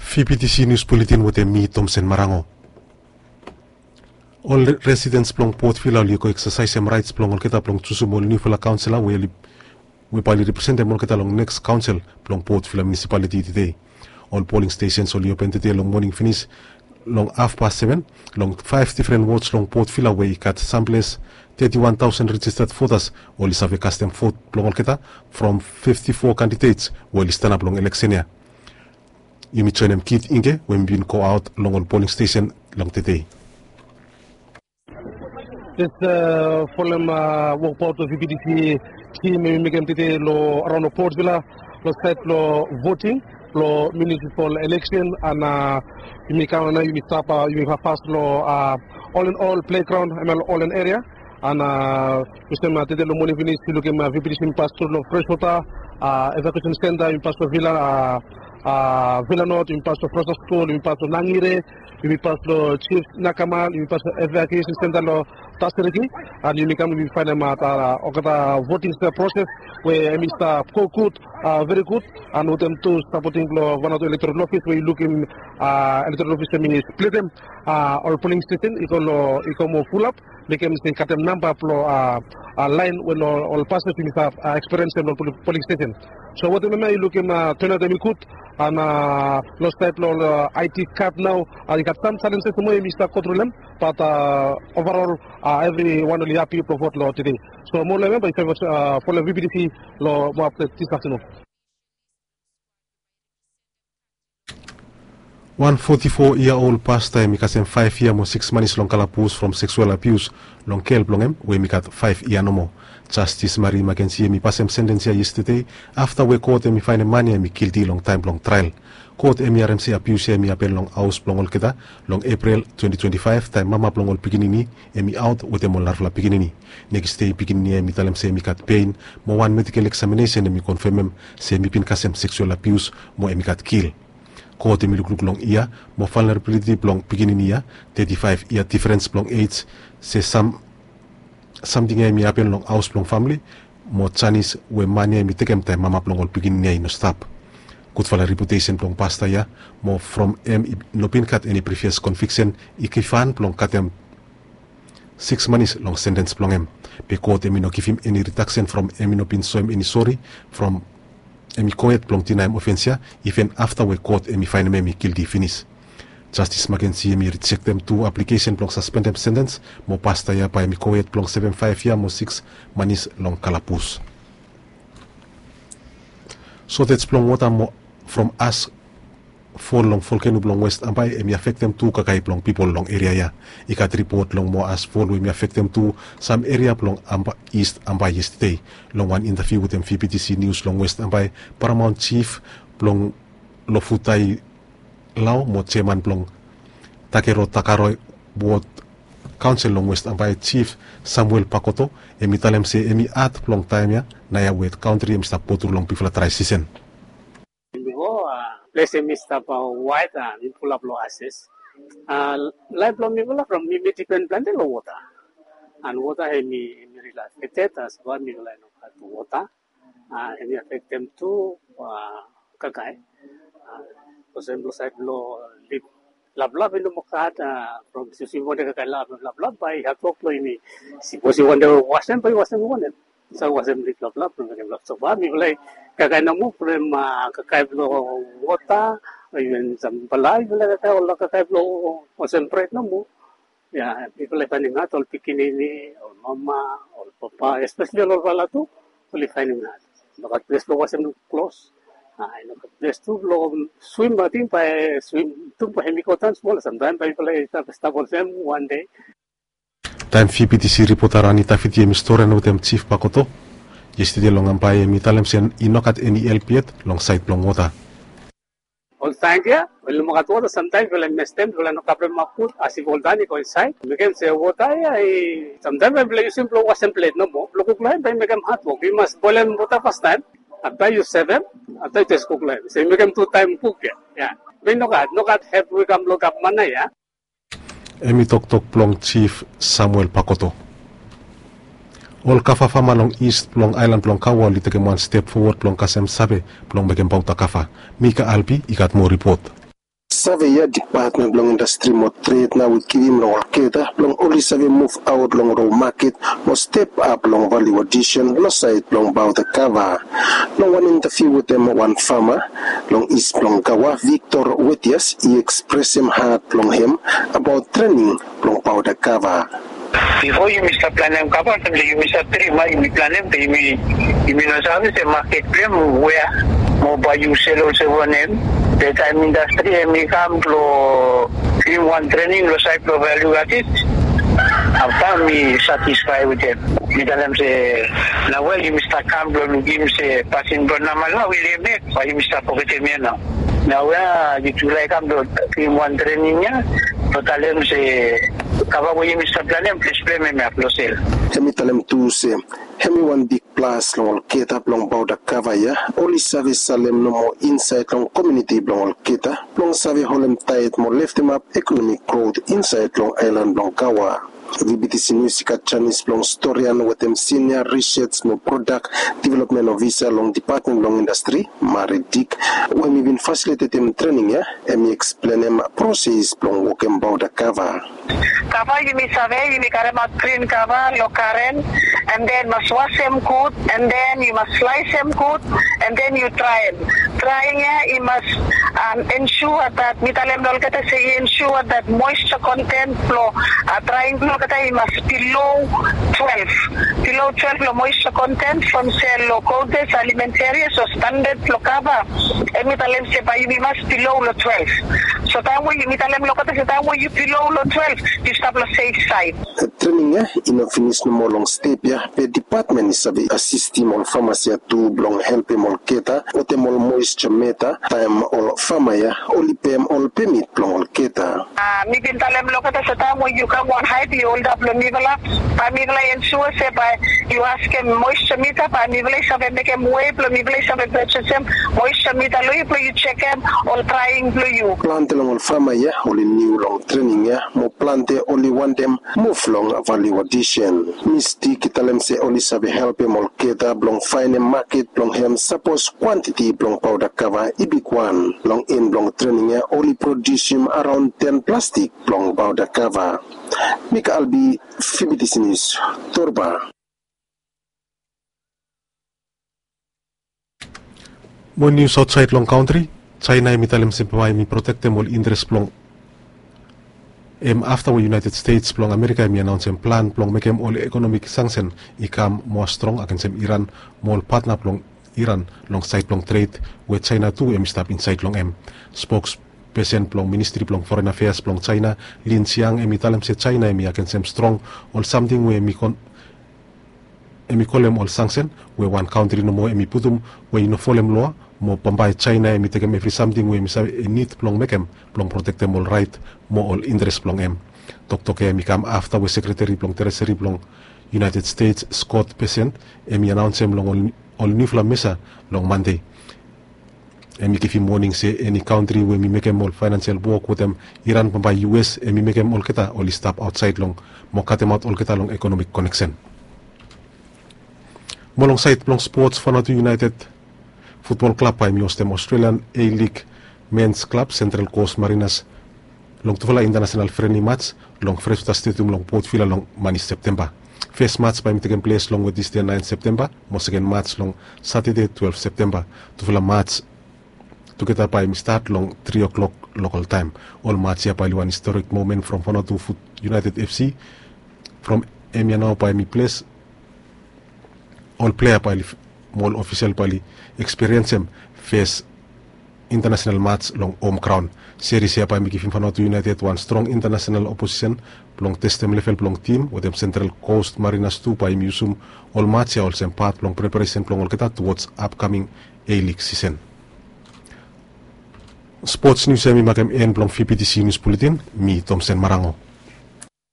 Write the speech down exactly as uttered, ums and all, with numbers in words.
V P T C News Bulletin wetem mi, Tomsen Marango. Ol re- residents blong Port Vila oli go eksasaesem raets blong olgeta blong jusum ol niufala kaonsela we oli, we bae oli representem olgeta long neks kaonsel blong Port Vila Municipality tede. Ol polling stations oli open tede long moning finis long hafpas seven long faef difren wards long Port Vila we i gat samples teti wan taosen registered votas oli save kastem vot blong olgeta from fifti fo candidates we oli stanap long eleksen ya. Yumi joenem Kit Inge we mi bin go aot long ol polling station long tede. Jes folem wokbaot we V P T C tim yumi mekem tede long araon long Port Vila long saed blong voting blong municipal election, and yumi kam nao yumi stap, yumi pas long all in all playground, hemia long Olen area. And olsem tede long moning finis yu lukim V P T C yumi pas tru long Freshwater, evacuation center yumi pas long Vila, Vila North, yumi pas long Freshwater School, yumi pas long Nangire, yumi pas long Chief Nakamal, yumi pas long evacuation center long Tasiriki, and yumi kam yumi faenem olgeta voting process we hemi stap go gud, veri gud, and wetem tu sapoting blong Vanuatu Electoral Office we yu lukim Electoral Office hemi splitem ol polling station i go long, i go moa fulap, mekem se i gatem namba blong laen we ol pases yumi stap ekspiriensem long polling station. So wetem hemia yu lukim turnout hemi gud, and long saed blong ol I D card nao i gat sam challenges nomo hemi stap go tru long hem, but overall evriwan oli hapi blong vot long tede. So moa long hem bae yu save folem V P T C long moa update this afternoon. Wan foti fo yia ol pasta hemi kasem faef yia mo siks manis long kalabus from seksual abius long gel blong hem we hemi gat faef yia nomo. Jastis Mari Makensi hemi pasem sentens ya yestede afta we kot hemi faenem man ya hemi gilti long taem blong trael. Kot hemi harem se abius ya hemi hapen long haos blong olgeta long Epril twenti twenti faef taem mama blong ol pikinini hemi aot wetem ol narafala pikinini. Nekis dei pikinini ya hemi talem se hemi gat pein mo wan medikel eksaminesen hemi konfemem se hemi bin kasem seksual abius mo hemi gat gil. Kot hemi lukluk long yia mo valnerabiliti blong pikinini ya, teti faef yia difrens blong ej, se sam samting ya hemi hapen long haos blong famle mo janis we man ya hemi tekem taem mama blong ol pikinini ya i no stap. Gudfala reputesen blong pasta ya mo from hem i no bin gat eni privias konviksen i givhan blong katem siks manis long sentens blong hem. Be kot hemi no givim eni ridaksen from hemi no bin soem eni sori from hemi gohed blong dinaem ofens ya iven afta we kot hemi faenem hemi gilti finis. Jastis Makensi hemi rijektem tu aplikesen blong saspendem sentens mo pasta ya bae hemi gohed blong sevem faef yia mo siks manis long kalabus. Sotej blong wota mo from as fol long volkeno blong West Ambae hemi afektem tu kakae blong pipol long eria ya. I gat ripot long moa as fol we hemi afektem tu sam eria blong Ambae, East Ambae yestede. Long wan intaviu wetem V P T C News long West Ambae, Paramount Chief blong Lofutai Lao mo jeaman blong Takero Takaro Wod Kaonsel long West Ambae, Chief Samuel Pakoto, hemi talem se hemi had blong taem ya naoia we kantri hemi stap go tru long bigfala drae sisen. Bipo ples hemi stap waet, hemi fulap long ases. Laef blong mifala from mi mi dipen plante long wota. And wota hemi, hemi rili afekted as bae mifala i no gat wota. Hemi afektem tu kakae. Olsem long saed blong lif laplap i no moa gat, from yusum wanem kakae laplap bae i hatwok blong yumi sipos i wantem wasem bae i wasem wanem. Sa wasem lif laplap blong mekem lap. So bae mifala i kakae nomo from kakae blong wota, iven sam pala mifala i kakae ol kakae blong olsem bred nomo. Ya, mifala i faenem had, ol pikinini, ol mama, ol papa, espeseli ol olfala tu oli faenem had. I no gat ples blong wasem klos. I no gat ples tu blong swim, ating bae swim tu bae hemi go daon smol, samtaem bae mifala i stap, stap olsem wan dei. Taem V P T C ripota Rani Tafiti hemi stori wetem Chief Pakoto yestede long Ambae, hemi talem se i no gat eni help yet long saed blong wota. Ol tank ya we i no moa gat wota, samtaem mifala i mestem, mifala i no kavremap gud, as if ol dan i go insaed. Mekem se wota ya i samtaem bae mifala i yusum blong wasem plet nomo, blong kuk long hem bae i mekem hatwok. Yu mas boelem wota fastaem, afta yu sevem, afta yu jes kuk long hem. So i mekem tu taem kuk ya. Ya. Be i no gat, no gat help we i kam long gavman ya. Hemi toktok blong Chief Samuel Pakoto. Ol kava fama long East blong aelan blong Kawa oli tekem wan step fowod blong kasem save blong mekem pauta kava. Mika Albi i gat moa ripot. Save ya, Dipatmen blong Indastri mo Tred nao i givim long olgeta blong oli save muv aot long rol maket mo step ap long valiu adisen long saed blong baota kava. Long wan intaviu wetem wan fama long is blong Gaua, Victor Wetias i ekspresem hat blong hem abaot trening blong baota kava. Bifo yumi stap planem kava, taem se yumi stap trim, yumi planem be yumi, yumi no save se maket blong hem wea mo bae yu sel olsem wanem. Be taem indastri hemi kam blong givim wan trening long saed blong valiu adis, afta mi satisfae wetem. Mi talem se nao we yumi stap kam blong lukim se pasin blong namal nao i lemek, bae yumi stap fogetem ya nao. Nao we yutufala i kam blong givim wan trening ya, blong talem se kava we yumi stap planem, ples blong hem hemi ap long sel. Hemi talem tu se hemi wan bigplas long olgeta blong baota kava ya, oli save salem nomo insaed long komuniti blong olgeta blong save holem taet mo leftemap ekonomik grot insaed long aelan blong Gaua. Vibitisi Nius i gat janis blong storian wetem Sinia Risej mo Prodak Developmen Ofisa long Dipatmen blong Indastri, Mari Dik, we hemi bin fasilitetem trening ya, hemi eksplenem proses blong wokem baota kava. Kava yumi save, yumi karemaot grin kava long garen, and then mas wasem gud, and then yu mas slaesem gud, and then yu draem. Draing ya i mas, um, ensure that, mi talem long olgeta se i ensure that moisture content blong, uh, draing blong olgeta i mas below twelve. Below twelve long moisture content from se long Gold Base Alimentaria, so standard blong kava, hemi talem se bae yumi mas below long twelve. So taem we yumi talem long olgeta se taem we yu below long twelve, yu stap long safe side. Trening ya i no finis nomo long step ya, be dipatmen i save asistem ol famas ya tu blong helpem olgeta wetem ol moisture meta taem ol fama ya oli pem ol pemit blong olgeta. Ah, mi bin talem long olgeta se taem we yu kam wan haet yu holdap long mifala, bae mifala i ensure se bae yu askem moisture mita, bae mifala i save mekem wei blong mifala i save pejesem moisture mita long yu blong yu jekem ol draing blong yu. Plante long ol fama ya oli niu long trening ya mo plante oli wantem muv long valiu adisen. Mis Dik i talem se oli save helpem olgeta blong faenem maket blong hem sapos kwantiti blong baota kava i bigwan. Long en blong trening ya oli prodiusim araon ten plastik blong baota kava. Mika Albi, Vibitisi Nius, Torba. Mo nius aotsaed long kantri, Jaena hemi talem se bae hemi protektem ol interes blong hem afta we United States blong Amerika hemi anaonsem plan blong mekem ol ekonomik sansen i kam moa strong agensem Iran mo ol patna blong Iran long saed blong tred we Jaena tu hemi stap insaed long hem. Spokspesen blong Ministri blong Foren Afeas blong Jaena, Lin Jian, hemi talem se Jaena hemi agensem strong ol samting we hemi kon hemi kolem ol sansen we wan kantri nomo hemi putum we i no folem loa, mo bambae Jaena hemi tekem evri samting we hemi save i nid blong mekem blong protektem ol raet mo ol interes blong hem. Toktok ya hemi kam afta we Sekreteri blong Treseri blong United States, Scott Bessent, hemi anaonsem long ol, ol niufala mesa long Mande. Hemi givim woning se eni kantri we hemi mekem ol faenansial wok wetem Iran, bambae U S hemi mekem olgeta oli stap aotsaed long mo katemaot olgeta long ekonomik koneksen. Mo long saed blong spots, Vanuatu United Futbol Klab bae hemi hostem Australian A-League Men's Club Central Coast Mariners long tufala intanasenal frenli mats long Freshwater Stadium long Port Vila long mani Septemba. Fes mats bae hemi tekem ples long Wednesde naen Septemba, mo seken mats long Satade twelve Septemba. Tufala mats tugeta bae hemi stat long tri o'clock local taem. Ol mats ya bae oli wan historik momen from Vanuatu Fut United F C, from hemia nao bae hemi ples ol plea bae oli, mo ol ofisel bae oli ekspiriensem fes intanasenal mats long hom graon. Seris ya bae hemi givim Vanuatu United wan strong intanasenal oposisen blong testem level blong tim wetem Central Coast Mariners tu bae hemi yusum ol mats ya olsem pat blong preparesen blong olgeta towards upcoming A-League sisen. Spots nius ya hemi makem en blong V B T C Nius Buletin. Mi Tomsen Marango.